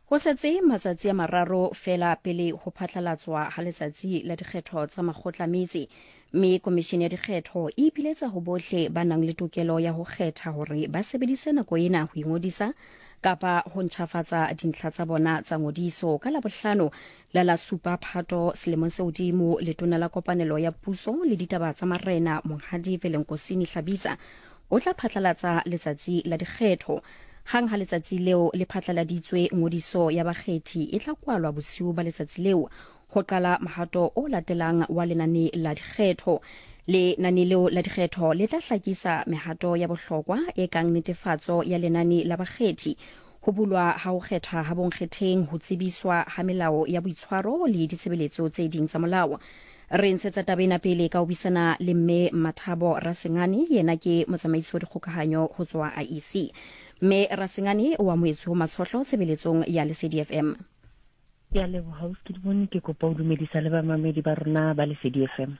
Ho setse matsatsi a mararo feela pele ho phatlalatswa ha letsatsi la dikgetho tsa makgotla metse, mme Komishene ya Dikgetho e ipiletsa ho bohle ba nang le tokelo ya ho kgetha hore ba sebedise nako ena ho ingodisa kapa ho ntjhafatsa dintlha tsa bona tsa ngodiso. Ka Labohlano la la supa Phato selemong se hodimo, Letona la Kopanelo ya Puso le Ditaba tsa Marena Monghadi Velenkosini Hlabisa o tla phatlalatsa letsatsi la dikgetho. Hang ha letsatsi leo le phatlaladitswe, ngodiso ya bakgethi e tla kwalwa bosiu ba letsatsi leo ho qala mohato o latelang wa lenane la dikgetho. Lenane leo la dikgetho le tla hlakisa mehato ya bohlokwa e kang netefatso ya lenane la bakgethi, ho bulwa ha ho kgetha ha bonkgetheng, ho tsebiswa ha melao ya boitshwaro le ditshebeletso tse ding tsa molao. Re ntshetsa taba ena pele ka ho buisana le Mme Mathabo Rasengane, yena ke motsamaisi wa dikgokahanyo ho tswa IEC. Mme Rasengane o amohetswe ho Matshohlo tshebeletsong ya Lesedi FM. Ke a leboha ausi Kedibone, ke kopa ho dumedisa le bamamedi ba rona ba Lesedi FM.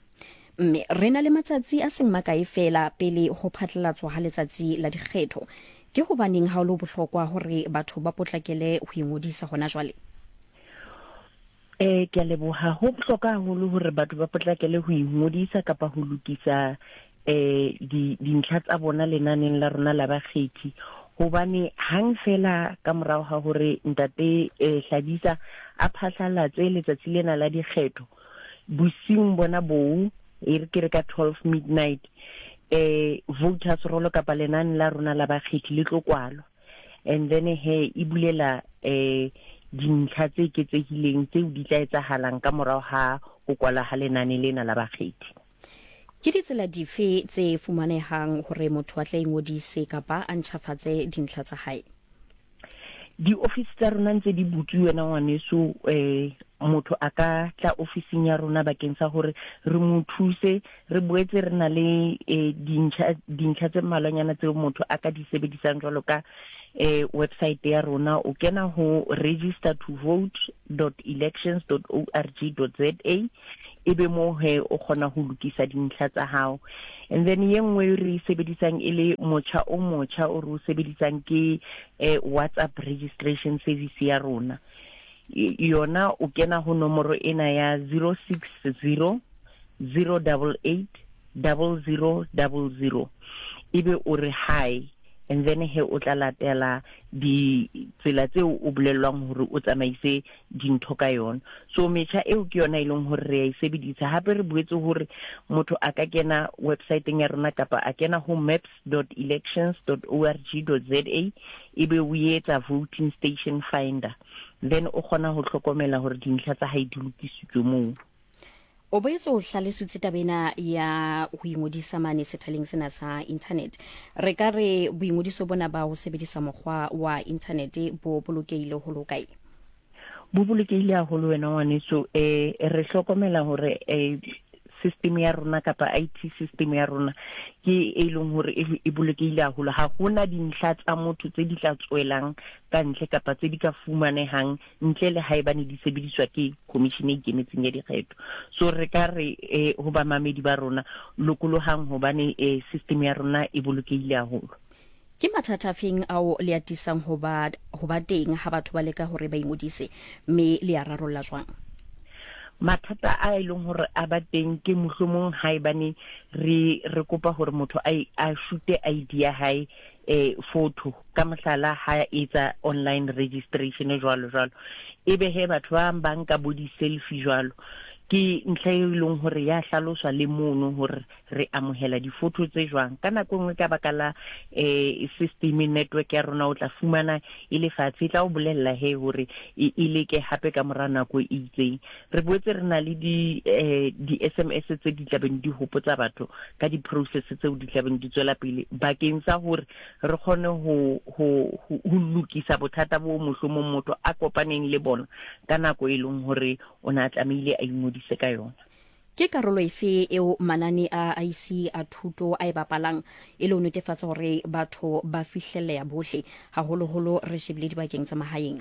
Mme re na le matsatsi a seng makae feela pele ho phatlalatswa ha letsatsi la dikgetho. Ke hobaneng ha ho le bohlokwa hore batho ba potlakele ho ingodisa hona jwale? Eh ke a leboha ho bohlokwa haholo hore batho ba potlakele ho ingodisa kapa ho lokisa eh di dintlha tsa bona lenaneng la rona la bakgethi hobane hang fela ka morao ga hore ntate eh, Hlabisa a phahlalatse letsatsi lena la dikgetho bosiung bona boo e re ke re ka 12 midnight eh voters roll kapa lenane la rona la bakgethi le tlo kwalwa and then he e bulela eh dintlha tse eketsehileng tseo di tla etsahalang ka morago ga go kwala ga lenane lena la bakgethi. Ke ditsela dife tse fumanehang hore motho a tla ingodise kapa a ntjhafatse dintlha tsa hae? Diofisi tsa rona ntse di butswe wena ngwaneso eh motho a ka tla ofising ya rona bakeng sa hore re mo thuse. Re boetse re na le eh, dintlha dintlha tse mmalwanyana tseo motho a ka di sebedisang jwalo ka eh, website ya rona. O kena ho register to vote dot elections dot org dot za ebe moo he o kgona ho lokisa dintlha tsa hao. And then ye nngwe e re e sebedisang e le motjha o motjha o re o sebedisang ke eh, WhatsApp registration service ya rona. Yona o kena ho nomoro ena ya 060 088 0000 ebe o re hi, and then he o tla latela ditsela tseo o bolellwang hore o tsamaise dintho ka yona. So metjha eo ke yona e leng hore re ya e sebedisa. Hape re boetse hore motho a ka kena websiteng ya rona kapa a kena ho maps dot elections dot org dot za ebe o etsa voting station finder, then o kgona ho hlokomela hore dintlha tsa hae di lokisitswe moo. O boetse o hlalositse taba ena ya ho ingodisa mane sethaleng sena sa internet. Re ka re boingodiso bona ba ho sebedisa mokgwa wa internet bo bolokehile ho lokae? Bo bolokehile haholo wena ngwaneso. Eh re hlokomela hore eh system ya rona kapa IT system ya rona ke e leng hore e bolokehile haholo. Ha hona dintlha tsa motho tse di tla tswelang ka ntle kapa tse di ka fumanehang ntle le haebane di sebediswa ke commission e ikemetseng ya dikgetho. So re ka re eh, ho bamamedi ba rona, lokolohang hobane eh, system ya rona e bolokehile haholo. Ke mathata afeng ao le atisang ho ba ho ba teng ha batho ba leka hore ba ingodise, mme le a rarolla jwang? Mathata a e leng hore a ba teng ke mohlomong haebane re re kopa hore motho a a shute ID ya hae eh photo ka mohlala ha etsa online registration jwalo jwalo, ebe he batho ba bang ba nka bo di-selfie jwalo. Ke ntlha e leng hore ya hlaloswa le mono hore re amohela di-photo tse jwang. Ka nako e nngwe ka baka la eh system network ya rona o tla fumana e le fatshe, e tla o bolella he hore e leke hape ka mora nako e itseng. Re boetse re na le di eh di-SMS tse di tlabeng di hopotsa batho ka di-process tseo di tlabeng di tswela pele bakeng sa hore re kgone ho ho ho lokisa bothata bo mohlomong motho a kopaneng le bona ka nako e leng hore o ne a tlamehile a ingodise ka yona. Ke karolo efe eo manane a IC a thuto a e bapalang e le ho netefatsa hore batho ba fihlelleha bohle, haholoholo re shebile dibakeng tsa mahaeng?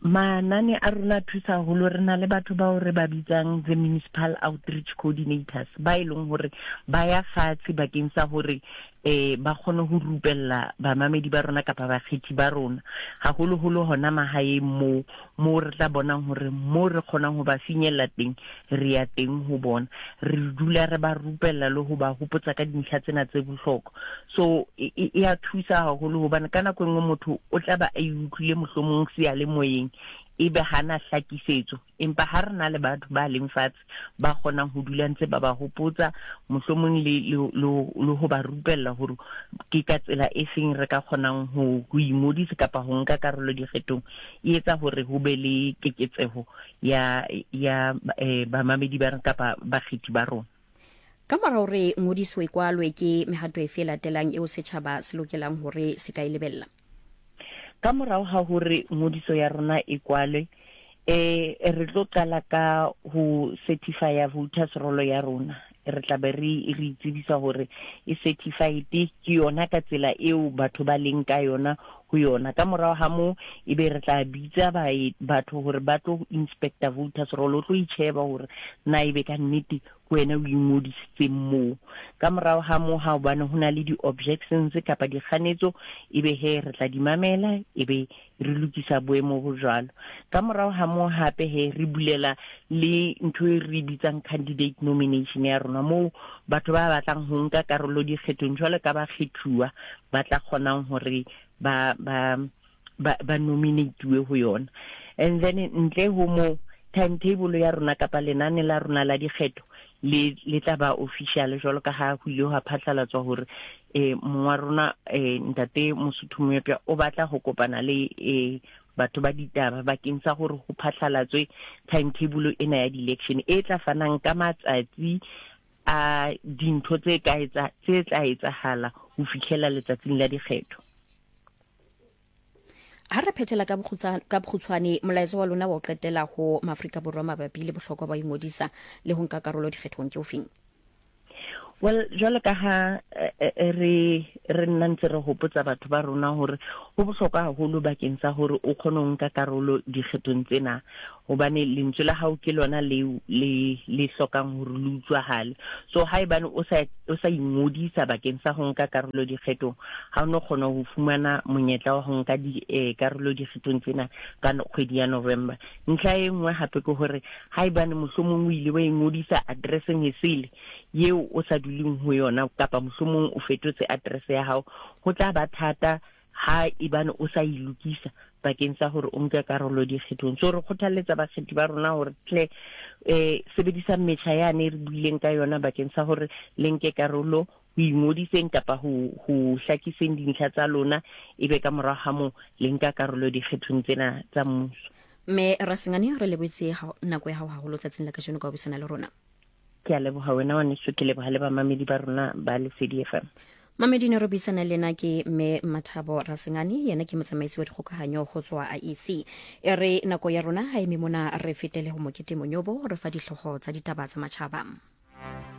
Manane a rona a thusa haholo. Re na le batho bao re ba bitsang the municipal outreach coordinators, ba e leng hore ba ya fatshe bakeng sa hore eh ba kgone ho rupella bamamedi ba rona kapa bakgethi ba rona, haholoholo hona mahaeng moo moo re tla bonang hore moo re kgonang ho ba finyella teng, re ya teng ho bona. Re dula re ba rupella le ho ba hopotsa ka dintlha tsena tse bohlokwa. So e, e, e a thusa haholo hobane ka nako e nngwe motho o tla ba a e utlwile mohlomong seyalemoyeng ebe hana hlakisetso, empa ha re na le batho ba leng fatshe ba kgonang ho dula ntse ba ba hopotsa mohlomong le le le ho ba rupella hore ke ka tsela e feng re ka kgonang ho ho ingodisa kapa ho nka karolo dikgethong, e etsa hore ho be le keketseho ya ya eh, bamamedi ba rona kapa bakgethi ba rona. Ka mora hore ngodiso e kwalwe, ke mehato efe e latelang eo setjhaba se lokelang hore se ka e lebella? Ka morao ga hore ngodiso ya rona e kwalwe, eh re tlo qala ka ho certifya voters roll ya rona. Re tla be re re itsebisa hore e certified ke yona ka tsela eo batho ba leng ka yona ho yona. Ka morao ha moo ebe re tla bitsa batho hore ba tlo inspector voters roll, o tlo itjheba hore na ebe ka nnete ke wena o ingodisitseng moo. Ka morao ha moo, ha hobane ho na le di-objections kapa dikganetso, ebe he re tla di mamela, ebe re lokisa boemo bo jwalo. Ka morao ha moo hape he re bulela le ntho e re bitsang candidate nomination ya rona, moo batho ba batlang ho nka karolo dikgethong jwalo ka bakgethuwa ba tla kgonang hore ba ba ba, ba nominatiwe ho yona. And then ntle ho moo, timetable ya rona kapa lenane la rona la dikgetho le le tla ba official jwalo ka ha ho ile ha phatlalatswa hore eh mongwa rona eh ntate Mosotho Moepya o batla ho kopana le eh batho ba ditaba bakeng sa hore ho phatlalatswe timetable ena ya di-election e tla fanang ka matsatsi a dintho tse ka etsa tse tla etsahala ho fihlela letsatsing la dikgetho. Ha re phethela ka bokgutshwane, molaetsa wa lona wa ho qetela ho Maafrika Borwa mabapi le bohlokwa ba ingodisa le ho nka karolo dikgethong ke ofeng? Well, jwalo ka ha eh, eh, re re nna ntse re hopotsa batho ba rona hore ho bohlokwa haholo bakeng sa hore o kgone ho nka karolo dikgethong tsena, hobane lentswe la hao ke lona le le le hlokang hore le utlwahale. So haebane o sa o sa ingodisa bakeng sa ho nka karolo dikgethong, ha o no kgona ho fumana monyetla wa ho nka di eh, karolo dikgethong tsena ka kgwedi ya November. Ntlha e nngwe hape ke hore haebane mohlomong o ile wa ingodisa addresseng e sele yeo o sa duleng ho yona, kapa mohlomong o fetotse address ya hao, ho tla ba thata ha ebane o sa e lokisa bakeng sa hore o nke karolo dikgethong. So re kgothalletsa bakgethi ba rona hore tle eh sebedisang metjha yane e re buileng ka yona bakeng sa hore le nke karolo ho ingodiseng kapa ho ho hlakiseng dintlha tsa lona, ebe ka morago ga moo le nka karolo dikgethong tsena tsa mmuso. Mme Rasengane, re lebotse nako ya gago haholo tsatsing la kajeno ka ho buisana le rona. Ke a leboga wena ngwaneso, ke leboga le bamamedi ba rona ba Lesedi FM. Mamedi ne re buisana le ena ke mme Mathabo Rasengane, yena ke motsamaisi wa dikgokahanyo go tswa IEC. E re nako ya rona ha eme mona, re fetele ho Mokete Monyobo re fa dihlooho tsa ditaba tsa matjhaba.